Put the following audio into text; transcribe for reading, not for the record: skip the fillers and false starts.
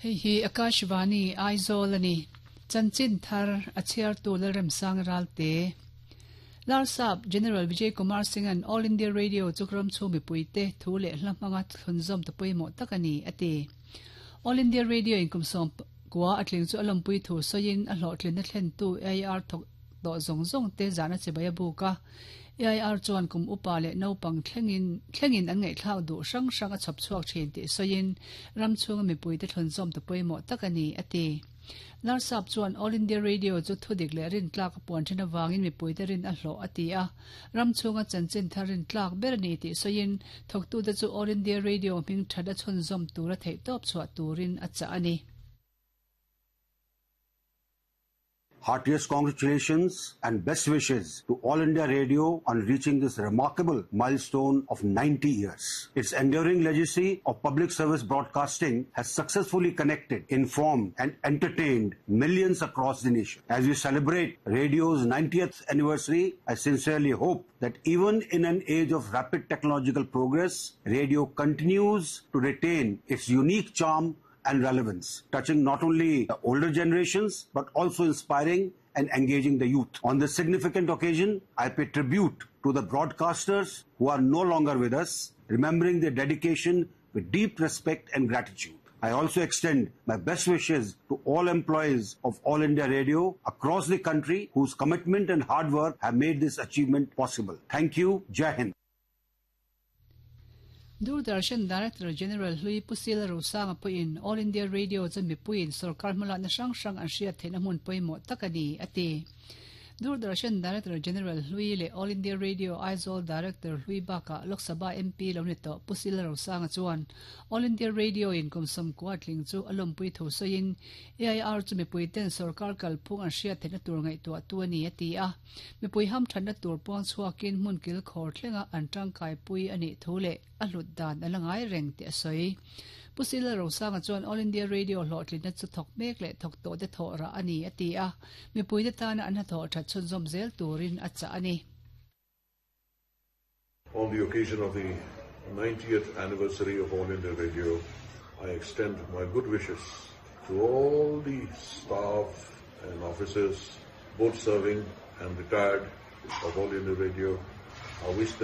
Hei hi Akashvani Aizawl a ni. Chanchin thar a chhiartu Lalremsang Ralte. Larsap General Vijay Kumar Singh-a'n All India Radio chu ram chhung mipuite thu leh hla hmanga thlunzawm ta pawimawh tak a ni, a ti. All India Radio in kum 90 a tling chu a lawmpui thu sawiin a hlawhtlinna thlentu AIR thawk tawh zawng zawng te zahna chibai a buk a. AIR chuan kum upa leh naupang thlengin thlengin an ngaihthlak duh hrang hrang a chhawp chhuak thin tih sawiin ram chhunga mipuite thlunzawm ta pawimawh tak a ni, a ti. Larsap chuan All India Radio chu thudik leh rintlak a puan thin avangin mipuite rin a hlawh a ti a, ram chhunga chanchin thar rintlak ber a ni tih sawiin thawktute chu All India Radio hming that a chhunzawm tura theihtawp chhuah turin a chah a ni. Heartiest congratulations and best wishes to All India Radio on reaching this remarkable milestone of 90 years. Its enduring legacy of public service broadcasting has successfully connected, informed and entertained millions across the nation. As we celebrate radio's 90th anniversary, I sincerely hope that even in an age of rapid technological progress, radio continues to retain its unique charm and relevance, touching not only the older generations but also inspiring and engaging the youth. On this significant occasion, I pay tribute to the broadcasters who are no longer with us, remembering their dedication with deep respect and gratitude. I also extend my best wishes to all employees of All India Radio across the country whose commitment and hard work have made this achievement possible. Thank you. Jai Hind. Doordarshan Director General hlui Pu Sila Rosanga pawhin All India Radio chu mipuiin sorkar hmalakna hrang hrang an hriat theihna hmun pawimawh tak a ni, a ti. Doordarshan Director General hlui leh All India Radio Aizawl Director hlui bakah Lok Sabha MP lo ni tawh Pu Sila Rosanga chuan All India Radio in kum 90 tling chu a lawmpui thu sawiin AIR chu mipuiten sorkar kalphung an hriat theihna tur ngaihtuahtu a ni, a ti a. Mipui hamthatna tur puang chhuakin hmun kilkhawr thlenga an tangkaipui a nih thu leh a hlut dan a la ngai reng tih a sawi. Pu Sila Rosanga chuan All India Radio hlawhtlinna chu thawk mek leh thawk tawhte thawh rah a ni a ti a, mipuite tana an hnathawh that chhunzawm zel turin a chah a ni. On the occasion of the 90th anniversary of All India Radio, I extend my good wishes to all the staff and officers, both serving and retired of All India Radio. I wish them